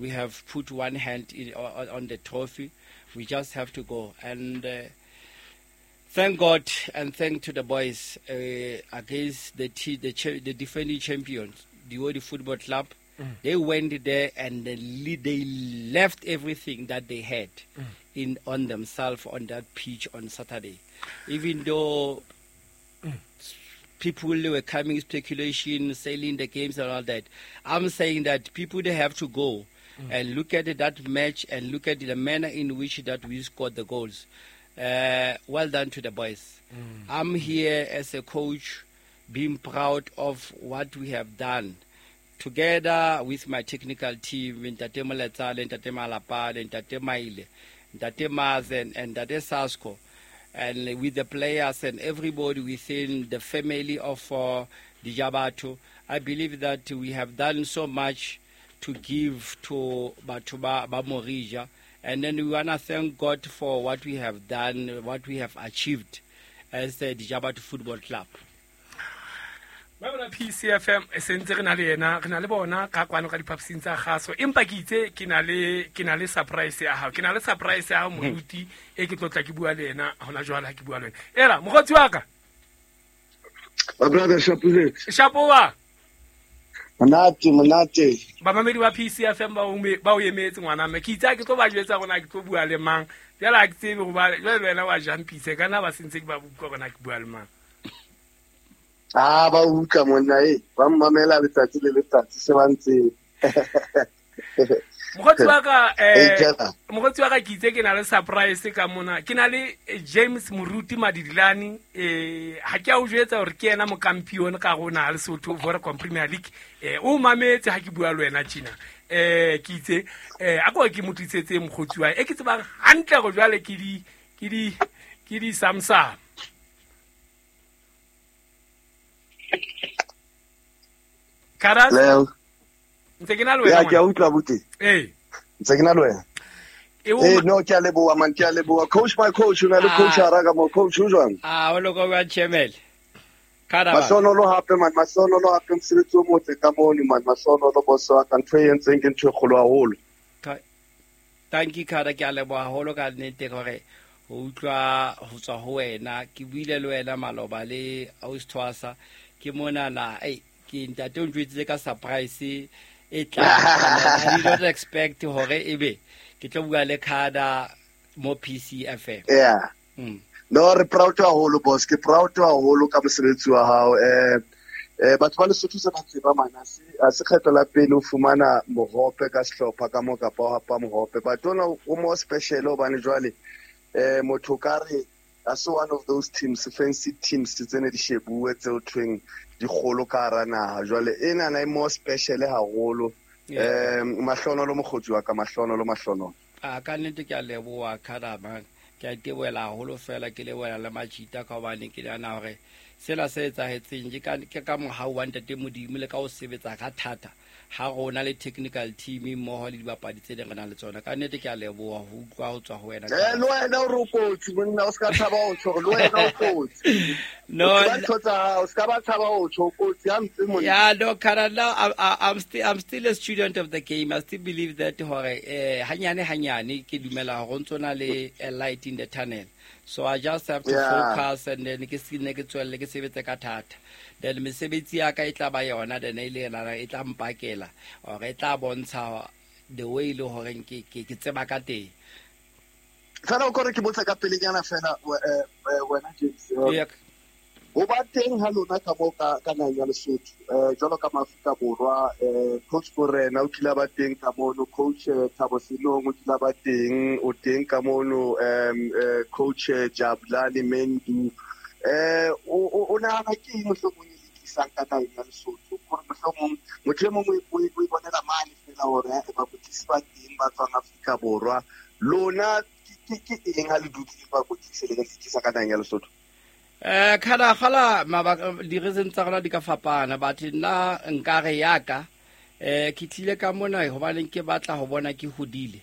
We have put one hand on the trophy. We just have to go. And thank God and thank to the boys against the defending champions, the Odi Football Club. They went there and they left everything that they had in on themselves on that pitch on Saturday. Even though people were coming speculation, selling the games and all that, I'm saying that people, they have to go and look at that match and look at the manner in which that we scored the goals. Well done to the boys. I'm here as a coach being proud of what we have done. Together with my technical team, Ntate Moletsale, Ntate Malapane, Ntate Maile, Ntate Mazen, and Ntate Sasko, and with the players and everybody within the family of Dijabatho, I believe that we have done so much to give to batho ba Morija. And then we want to thank God for what we have done, what we have achieved as the Dijabatho Football Club. Ba bona PCFM e sentse re na le yena, re na le bona ka kwano ka diphaposing tsa kgaso. Empa ke itse ke na le surprise ya hao. Ke na le surprise ya hao, moruti, e ke tlotla ke bua le yena hona jwale ha ke bua le wena. Era, mokgotsi wa ka. My brother, Shapo. Shapo wa. Monate, monate. Bamamedi ba PCFM ba o emetse ngwana mme. Ke itse ha ke tlo ba jwetsa hore na ke tlo bua le mang. Jwale ha ke tsebe hoba jwale wena wa jumpise, ka nna ba sentse ke ba utlwa hore na ke bua le mang. Ba utlwa monna e, ba mmamela letsatsi le letsatsi se ba ntse. Mokgotsi wa ka, Ee, Jana. mokgotsi wa ka ke itse ke na le surprise ka mona. Ke na le James Moruti Madidilane, ha ke a o jwetsa hore ke yena mokampione ka rona ha Lesotho Vodacom Premier League. O mametse ha ke bua le wena tjena. Ke itse, a ko ke mo tlisetse mokgotsi wa hae. E ke tsebang hantle hore jwale ke di Samsung. Karas? Leo. Ntse ke na le wena, Ya, ke a ngwana. utlwa, abuti. Ee. Ntse ke na le wena. E o Ee, ma- no, ke a leboha, man, ke a leboha. Coach, my coach, o na le coach hara ka mo. Coach, o jwang? O loko wa Chemel. Kada ba. Mahlonolo hape, man, mahlonolo hape, mosebetsi o motle ka mono, man, mahlonolo, boss wa ka. Ntho e entseng ke ntho e kgolo haholo. Thank you, Kada, ke a leboha haholo ka nnete hore ho utlwa ho tswa ho wena. Ke buile le wena maloba le Ausi Thwasa. Ke monana, ei, ke ntate o ntjwetsitse ka surprise e tlang. I did not expect hore ebe ke tlo bua le Kada mo PCFM. Yeah. No, re proud haholo, boss. Ke proud haholo ka mosebetsi wa hao. Batho ba Lesotho se ba tseba, man, ha se kgetho la pele o fumana mohope ka sehlopha ka mo kapa o hapa mohope. But ona o more special hobane jwale, motho ka re ha se one of those teams, fancy teams tse ne di shebuwe tse ho thweng di kgolo ka hara naha. Jwale enana e more special haholo. Mahlonolo mokgotsi wa ka, mahlonolo, mahlonolo. A ka nnete ke a leboha, Kada, man. Ke a itebohela haholo fela, ke lebohela le Majita ka hobane ke nahana hore sena se etsahetseng ke ka mohau wa Ntate Modimo le ka ho sebetsa ka thata ha rona le technical team mmoho le dibapadi tse ding re nang le tsona. Ka nnete ke a leboha ho utlwa ho tswa ho wena. Le wena o re o kotsi, monna, o ska tshaba ho tjho, le wena o kotsi. No, O tseba ntho tsa hao, o ska ba tshaba ho tjho, o kotsi hampe, monna. Yeah, no, Kada, now I'm still a student of the game. I still believe that hore, hanyane hanyane ke dumela hore ho ntso na le a light in the tunnel. So I just have to focus and then ke se ne ke tswelle ke sebetse ka thata. Then mesebetsi ya ka e tla ba yona, then e le yena e tla mpakela or e tla bontsha the way le hore ke tseba ka teng. Fela o kore ke botsa ka pelenyana fela, wena James, ho ba teng ha lona ka mo ka naheng ya Lesotho, jwalo ka Maafrika Borwa, Coach Morena o kile a ba teng ka mono, Coach Thabo Senong o kile a ba teng, o teng ka mono, Coach Jabulani Mendu. O nahana ke eng mohlomong e le tlisang ka naheng ya Lesotho? Hore mohlomong motho e mong o e bonela mane fela hore, bakwetlisi ba teng ba tswang Afrika Borwa. Lona ke eng ha le dutse le bakwetlisi le tlisa ka naheng ya Lesotho? Kada gala mabaka di-reason tsa rona di ka fapana, but nna nkare yaka, ke tlile ka mona hobane ke batla ho bona ke hodile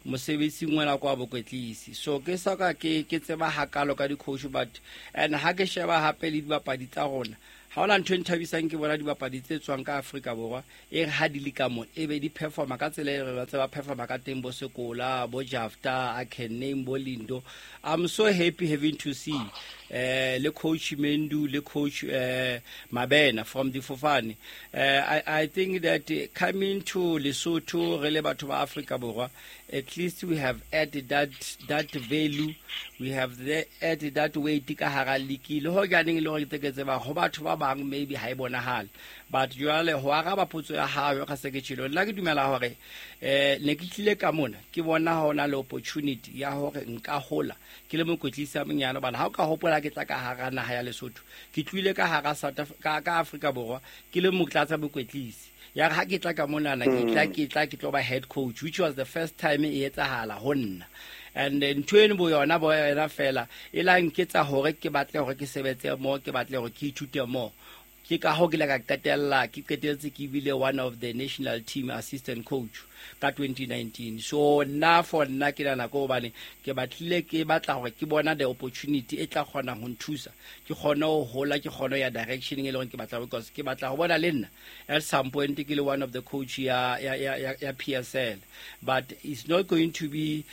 mosebetsing ona kwa bokwetlisi. So ke soka ke tseba hakalo ka di-coach, but and ha ke sheba hape le dibapadi tsa rona, Ha hona ntho e nthabisang ke bona dibapadi tse tswang ka Afrika Borwa e re ha di le ka mo e be di performa ka tsela e re ba tseba performa ka teng, bo Sekola, bo Jafta, I can name bo Lindo. I'm so happy having to see le coach Mendu le coach Mabena from the Fofane. I think that coming to Lesotho re le batho ba Afrika Borwa, at least we have added that value, we have added that weight ka hara league. Le ho janeng le hore ke tseba ho batho ba bang maybe ha e bonahale, but jwale ho araba potso ya hao ka se ke tjhelo, nna ke dumela hore ne ke tlile ka mona ke bona hona le opportunity ya hore nka hola ke le mokwetlisi a monyane. Hobane ha o ka hopola ke tla ka hara naha ya Lesotho, ke tlohile ka hara South Africa, ka Afrika Borwa ke le motlatsa mokwetlisi. Ya re ha ke tla ka monana, ke tlo ba head coach, which was the first time e etsahala ho nna. And ntho eno bo yona bo yona fela e la nketsa hore ke batle hore ke sebetse mo, ke batle hore ke ithute mo. Ke ka ho ke ile ka qetella ke qetelletse ke bile one of the national team assistant coach ka 2019. So nna for nna ke nahana ko hobane ke batlile ke batla hore ke bona the opportunity e tla kgona ho nthusa, ke kgone ho hola, ke kgone ho ya direction e leng hore ke batla, because ke batla ho bona le nna at some point ke le one of the coach ya PSL. But it's not going to be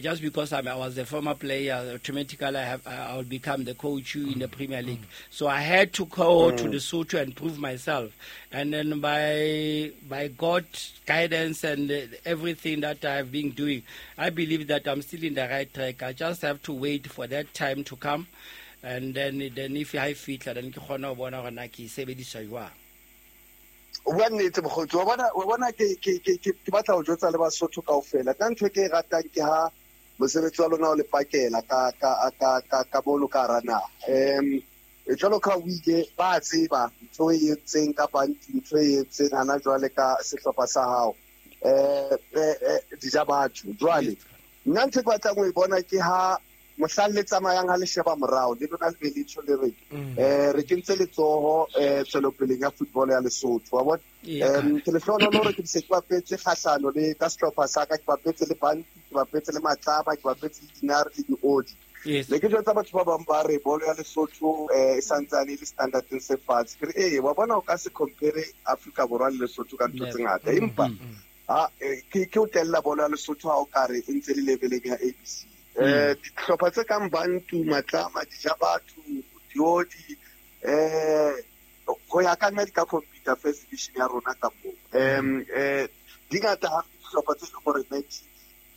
just because I was a former player, automatically I will become the coach in the Premier League. So I had to go to Lesotho and prove myself. And then by God's guidance and everything that I've been doing, I believe that I'm still in the right track. I just have to wait for that time to come. And then if I fit, then ke kgona ho bona hore na ke e sebedisa jwang. O bua nnete mokgotsi, wa bona ke batla ho jwetsa le Basotho kaofela. Nna ntho e ke e ratang ke ha mosebetsi wa lona o le pakela ka mono ka hara naha. Jwalo ka o ile ba tseba ntho e entseng kapa ntho e entseng hana jwale ka sehlopha sa hao. Dija batho. Jwale nna ntho e ke batlang ho e bona ke ha mohlang le tsamayang ha le sheba morao, le lona le be le tjho le re, re kentse letsoho tswelopeleng ya football ya Lesotho, wa bona? Ke lehlohonolo hore ke se ke bapetse kgahlano le ka sehlopha sa ka, ke bapetse le Bantu, ke bapetse le Matlaba, ke bapetse le Dinare le Diodi. Ne ke jwetsa batho ba bang ba re bolo ya Lesotho e santsane e le standardeng se fatshe. Ke re, ee, wa bona o ka se compare Afrika Borwa le Lesotho ka ntho tse ngata, empa ke o tella bolo ya Lesotho ha o ka re e ntse le leveleng ya ABC. Dihlopha tse kang Bantu, Matlama, Dijabatho, Diodi, ho ya ka nna di ka compete first division ya rona ka moo. Di ngata ha dihlopha tse leng hore di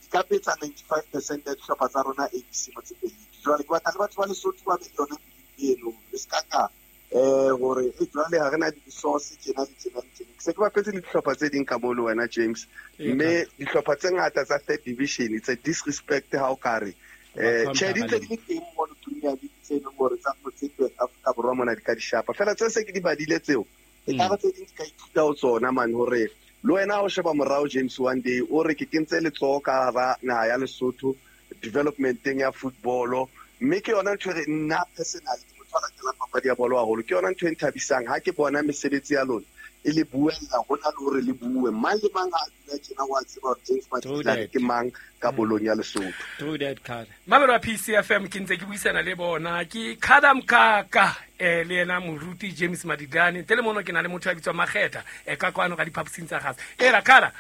ka betsa 95% ya dihlopha tsa rona ABC Motsepe League. Jwale ke batla le batho ba Lesotho ba be le yona eno, le ska ka hore jwale ha re na di-resource tjena le tjena le tjena. Ke se ke bapetse le dihlopha tse ding ka moo le wena James, mme dihlopha tse ngata tsa third division, it's a disrespect ha o ka re tjhe di ntse di le teng mono Premier League tse leng hore tsa Motsepe Afrika Borwa mona di ka di shapa. Feela tse se ke di badile tseo, e ka re tse ding di ka ithuta ho tsona man, hore le wena o sheba morao James one day o re ke kentse letsoho ka hara naha ya Lesotho developmenteng ya football. Mme ke yona ntho e re nna personally ke motho a latelang papadi ya bolo haholo, ke yona ntho e nthabisang ha ke bona mesebetsi ya lona e le buella hona le hore le bue. Mang le mang ha a dula tjena wa tseba hore James Madilane ke mang ka bolong ya Lesotho. True that, Khada. Mamelo wa PCFM ke ntse ke buisana le bona ke Khada Mkaka le yena moruti James Madilane. Ntle le mono ke na le motho ya bitswang Makgetha ka kwano ka diphaposing tsa gase. Era Khada,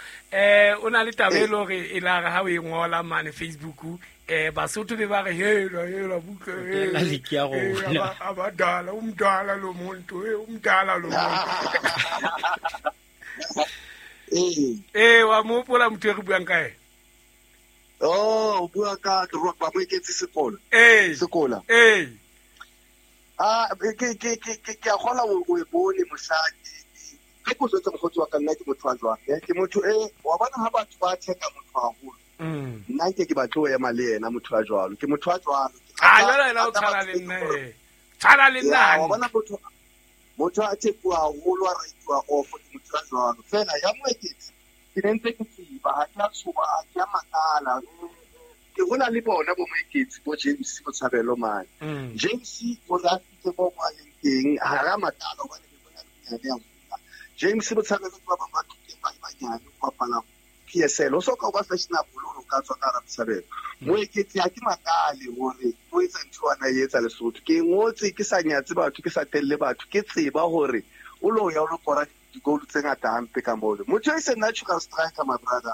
o na le taba e le hore e la re ha o e ngola mane Facebook, Basotho be ba re hela hela buka La league ya rona. Abadala, umdala lo muntu, umdala lo muntu. Wa mo hopola motho e re buang ka yena? Oh, o bua ka ba mo eketse sekolo. Sekola. Ke a kgona o e bone mosadi. Ke go jwetsa mokgotsi wa ka, nna ke motho wa jwang, ke motho e wa bona ha batho ba theka motho haholo. Nna nke ke batle ho ema le yena motho wa jwalo. Ke motho wa jwalo. Jwale yena o tshwana le nna, Tshwana le nna. Wa bona motho a thekuwa haholo, a raituwa off, ke motho wa jwalo. Feela ya moeketsi, ke ne ntse ke tseba, ha ke a tshoha, ha ke a makala. Ke hola le bona bo moeketsi, bo James Botshabelo mane. James o re a fihle mo a leng teng, ha ra makala hobane ke bona le monyane ya hola. James Botshabelo ke ba bang ba tlileng ba le banyane ho bapala PSL o so ka ba fashionable o ka tswa ka Rabsabelo Moeketsi ha ke makale hore o etsa ntho ana e etsa Lesotho ke ngotse ke sa nyatse batho ke sa telle batho ke tseba hore o lo ya o lo kora di-goal tse ngata hampe ka mole motho e se natural striker my brother.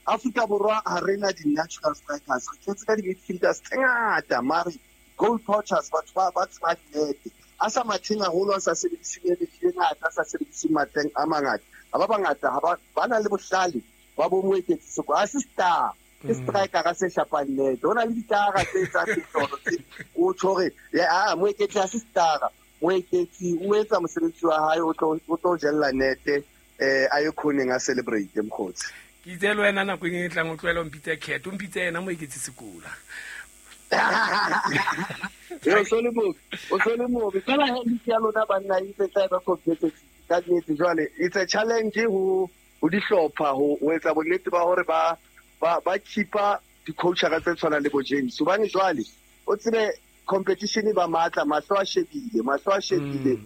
Afrika Borwa ha re na di-natural strikers re tletse ka di-midfielders tse ngata mare goal poachers batho ba tseba nnete a sa matheng haholo a sa sebedise energy e ngata a sa sebedise matleng a mangata ha ba bangata ha ba na le bohlale ba bo Moeketsi Seko a se star ke striker ka se shapang nete ho na le ditara tse tsa mehlolo tse o tjho hore a Moeketsi ha se star Moeketsi o etsa mosebetsi wa hae o tlo jella nete a ye khoneng a celebrate mkhotsi ke itse le wena nako e tlang o tlohela o mpitse Cat o mpitse yena Moeketsi Sekola o so le mobe fela he ya lona banna e tse tla ba competitive ka nnete jwale it's a challenge ho dihlopha ho etsa bonnete ba hore ba keepa di-coachera tse tshwanang le bo James hobane jwale o tsebe competition ba matla mahlo a shebile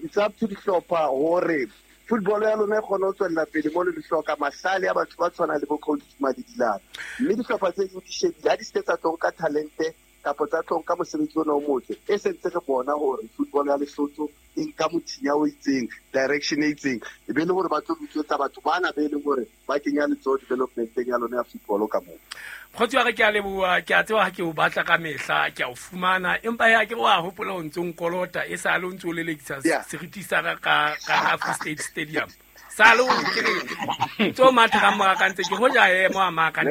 it's up to dihlopha hore football ya lona e kgone ho tswella pele mo le hloka mahlale a batho ba tshwanang le bo coach Madidilane mme dihlopha tse ding di shebile ha di se tsa tlo ka talente kapa tsa tlo ka mosebetsi ona o motle e sentse re bona hore football ya Lesotho e nka mothinya o itseng direction e itseng e be le hore ba tlo bitsetsa batho bana be leng hore ba kenya letsoho developmenteng ya lona ya football ka moo. Mokgotsi wa ka ke a leboha ke a tseba ha ke o batla ka mehla ke a o fumana empa ya ke wa hopola o ntso nkolota e sa le o ntso lelekisa seriti sa ka ka Free State Stadium sa le o ke re ntso matha ka mora ka ntse ke hoja emo a maka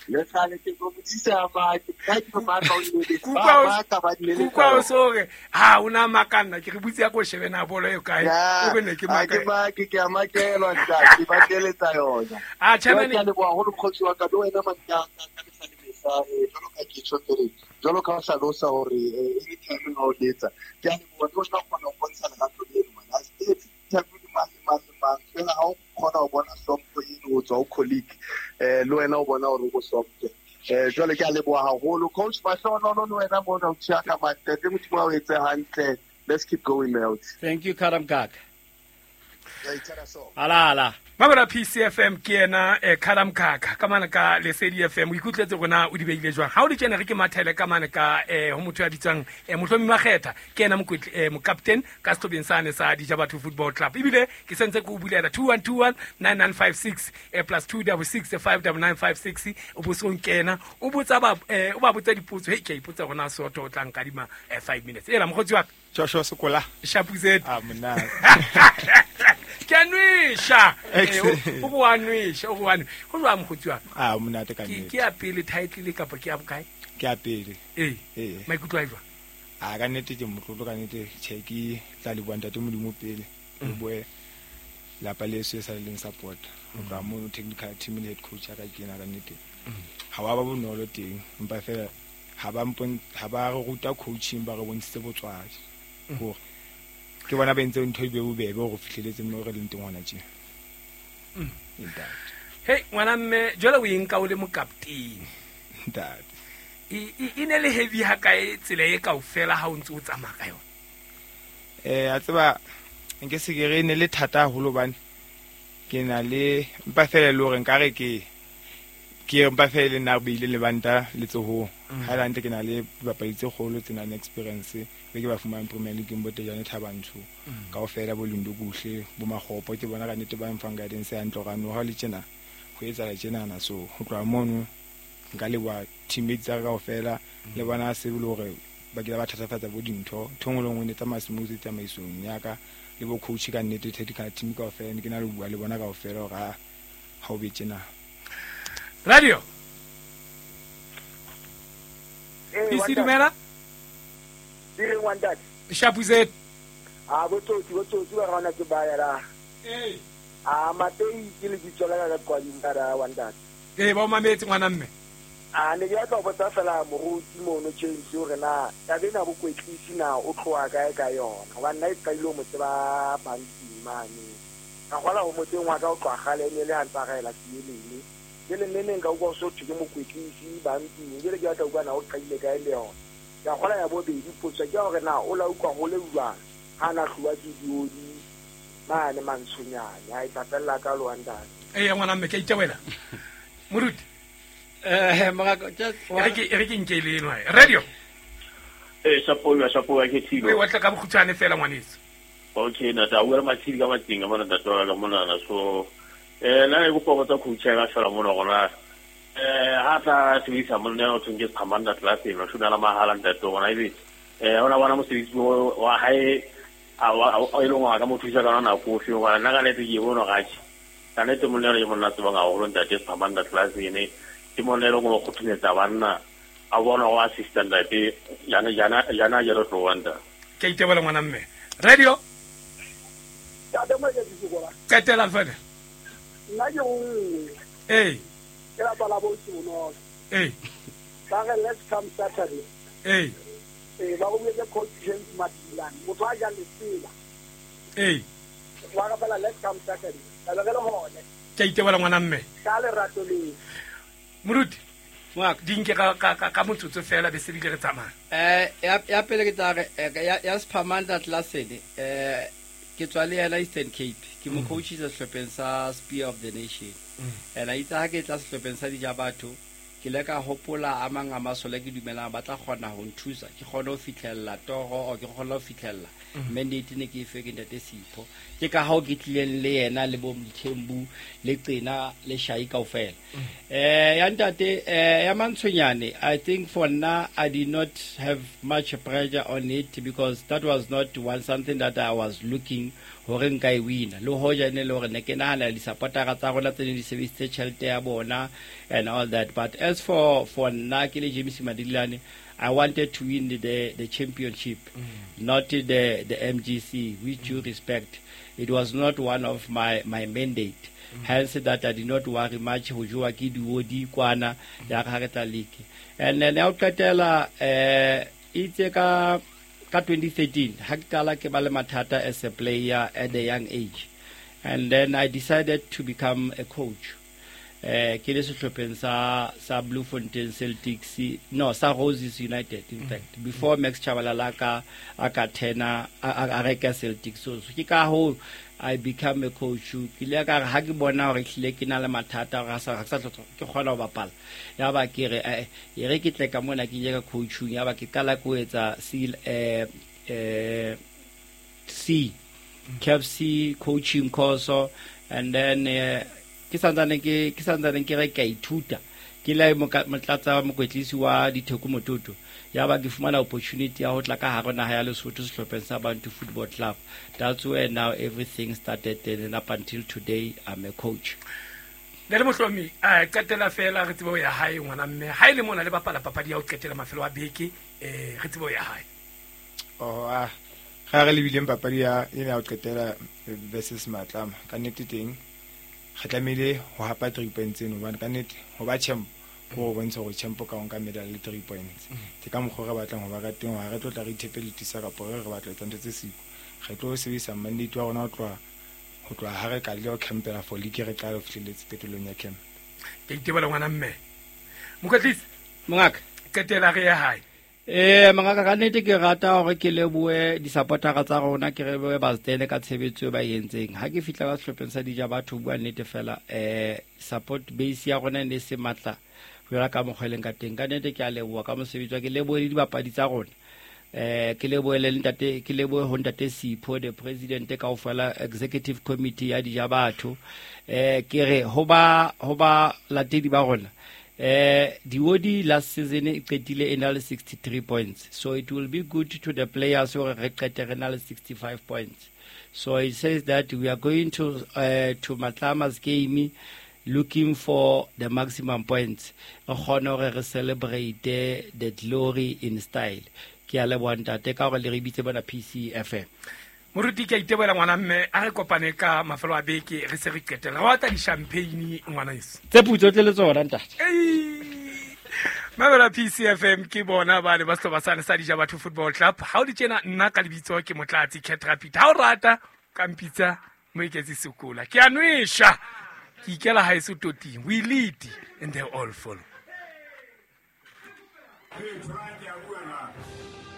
le sale ke go botsisa ba ke ka ke matla o le ba ka ba le kuka o sore ha una makanna ke re butse ya go shebe na bolo e kae o bone ke maka ke ke a makelwa ntate ba keletsa yona a chairman ke le boa holo mkhotsi wa ka le wena man ka ka mehla le mehla jalo ka ke tjho pele jalo ka hlalosa hore anytime ha o letsa ke a le bona o tla kgona ho bontsha lerato leno man a se interview mang mang fela ha o kgona ho bona hlompho eno ho tswa ho colleague le wena o bona hore o hlomphe jwale ke a leboha haholo coach Mahlohonolo le wena mona o tjha ka mantete Modimo a o etse hantle. Let's keep going mate. Thank you Karamkak. Ala Mabara PCFM ke ena Karamkak ka mana ka Lesedi FM o ikutletse rona o di beile jwang ha o di tjena re ke mathele ka mana ka ho motho ya bitswang Mohlomi Makgetha ke ena mokaptene ka sehlobeng sane sa Dijabatho Football Club ebile ke sentse ke o bulela 2121 9956 plus 266 59956 o bosong kena o botsa ba o ba botsa dipotso he ke ipotsa rona soto o tla nkadima 5 minutes ela mokgotsi wa Joshua Sekola Shapuzet ah mona ke a nwesha o go a nwesha o go a go jwa mokgotsi wa ah monate ka nnete ke a pele title kapa ke a bokae ke a pele ee maikutlo a jwa a ka nnete ke motlotlo ka nnete che ke tla leboha ntate Modimo pele le boe lapa leso e sa leng support ho tloha mono technical team le head coach ya ka ke ena ka nnete ha wa ba bonolo teng empa fela ha ba re ruta coaching ba re bontshitse botswadi hore ke bona ba entse ntho e be bobebe hore fihleletse mo re leng teng hona tje. Ntate. Hey ngwana mme jwale o eng ka o le mokaptene. Ntate. E ne le heavy ha kae tsela e kaofela ha o ntse o tsamaya ka yona? A tseba nke se ke re ne le thata haholo hobane ke na le mpa fela le hore nkare ke mpa fela le nna beile le banta letsohong. Ha la ntle ke na le dibapadi tse kgolo tse nang experience be ke ba fumang Premier League bo Tejane Thabantsho kaofela bo Lindo Kuhle bo Makgopo ke bona ka nnete ba mfang guidance ya ntlo ka no ha le tjena ho etsahala tjenana so ho tloha mono nka leboha teammates tsa ka kaofela le bona se le hore ba kile ba thatafatsa bo dintho ntho nngwe le nngwe ne tsamaya smooth tsamaisong ya ka le bo coach ka nnete technical team kaofela ne ke na le bua le bona kaofela hore ha o be tjena. Radio PC dumela Dire one that Shapuzet a botsotsi ba rona ke ba ya la a matei ke le ditsola ka kwa dingara one that ba o mametse ngwana mme a ne ke batla ho botsa fela moruti mono James hore na taba ena bokwetlisi na o tloha kae ka yona hobane nna e qadile ho mo tseba banking mane ka kgola ho motseng wa ka o tloha kgale e ne le ha ntsa raela sielele ke le neneng ka utlwa so thwe ke mokwetlisi banking jwale ke batla utlwa na o qadile kae le yona ka kgola ya bobedi potso ke hore na o la utlwa ho le jwang ha na hluwa ke diodi mane mantshonyane a e tla fella ka lo ntate. Ee ngwana mme ke a iteboela. Moruti. Morako just E re ke nke le eno radio. Shapo ke thilo. O watla ka bokgutshwane fela ngwaneso. Okay, nata o re matshidi ka matsing ka mona ntate wa ka mona so nna ne kopa go tsa coach ya ka fela mona gona ha tla sebedisa monna o thong ke Phamanda class e no shuna la mahala ntate gona ebe ona bona mosebetsi wa hae a e leng wa ka mo thusa ka nako ofe wa nna ka nete ke bona ga tše ka nete monna le monna tsebang haholo ntate Phamanda class ene ke monna e leng go kgothumetsa banna a bona go assistant ntate jana jana jana jero Rwanda ke itebela ngwana mme radio qetela fela nna ke nngwe ee ke lapa la bo ee ba re let's come Saturday ee ba go buetse coach James Madilane motho a jang lesela ee wa ka fela let's come Saturday ka re le hone ke itebela ngwana mme ka lerato le moruti Ngaka di nke ka motsotso fela be se bile re tsamaya ya pele ke tla re ya Sphamanda Classene ke tswa le yena Eastern Cape ke mo coachisa sehlopheng sa Spear of the Nation and a itse ha ke tla sehlopheng sa Dijabatho ke le ka hopola a mang a masole ke dumelang ba tla kgona ho nthusa ke kgone ho fitlhella toro or ke kgone ho fitlhella mandate ne ke e fe ke ntate Sipho ke ka hao ke tlileng le yena le bo Mthembu le Qena le Shai kaofela ya ntate ya Mantshonyane I think for now I did not have much pressure on it because that was not one something that I was looking hore nka e wina le hoja ne le hore ne ke nahana di-supportera tsa rona tse ne di sebedisitse tjhelete ya bona and all that but as for nna ke le James Madilane I wanted to win the championship not the MGC with due respect it was not one of my mandate hence that I did not worry much ho jowa ke diodi kwana ya ga re tla league and then ya o qetela itse ka 2013 ha ke qala ke ba le mathata as a player at a young age and then I decided to become a coach ke le sehlopheng sa Bloemfontein Celtics no sa Roses United in fact before Max Chabalala a ka tena a reka Celtics so ke ka ho I become a coach ke le ka ha ke bona hore hlile ke na le mathata ga sa ke kgona ho bapala ya ba ke re e re ke tle ka mona ke ye ka coaching ya ba ke qala ko etsa C KFC coaching course and then ke santsane ke re ka ithuta ke le motlatsa mokwetlisi wa Ditheko Mototo ya ba ke fumana opportunity ya ho tla ka hare naha ya Lesotho sehlopheng sa Bantu Football Club. That's where now everything started and up until today I'm a coach. Ne le mohlomi a qetela fela re tsebe ho ya hae ngwana mme ha ile mona le bapala papadi ya ho qetela mafelo a beke re tsebe ho ya hae. Oh ah ga re lebileng papadi ya ena ya ho qetela versus Matlama ka nnete teng re tlamehile ho hapa 3 points eno hobane ka nnete ho ba champ go bontsha gore champ ka nka medal le 3 points ke ka mokgwa re batlang ho ba ka teng ha re tlo tla re ithepelitisa kapa re batla etsa ntho tse siko re tlo sebedisa mandate wa rona ho tloha ha re ka le ho campela for league re tla re fihlelletse qetellong ya camp. Ke itebela ngwana mme mokwetlisi mongaka qetela re ya hae. Mongaka ka nnete ke rata hore ke lebohe di-supportera tsa rona ke re boe Baztene ka tshebetso e ba e entseng ha ke fihla ka sehlopheng sa Dijabatho bua nnete fela support base ya rona e ne se matla ho ya ka mokgwa e leng ka teng ka nnete ke a leboha ka mosebetsi wa ke lebohe le dibapadi tsa rona ke lebohe le ntate ke lebohe ho ntate Sipho the president kaofela executive committee ya Dijabatho ke re ho ba latedi ba rona Diodi last season e qetile e na le 63 points so it will be good to the players hore re qete re na le 65 points so it says that we are going to Matlama's game looking for the maximum points re kgone hore re celebrate the glory in style. Ke a leboha ntate ka hore le re bitse bona PCFM. Moruti ke a iteboela ngwana mme a re kopane ka mafelo a beke re se re qetela re batla di-champagne ngwana eso tse putso tle le tsona ntate. Mamela PCFM ke bona ba le ba sehlopha sane sa Dijabatho Football Club ha o le tjena nna ka lebitso ke Motlatsi Cat Rapid ha o rata ka mpitsa Moeketsi Sekola ke a nwesha ke ikela haeso toting we lead and they all follow. Hey,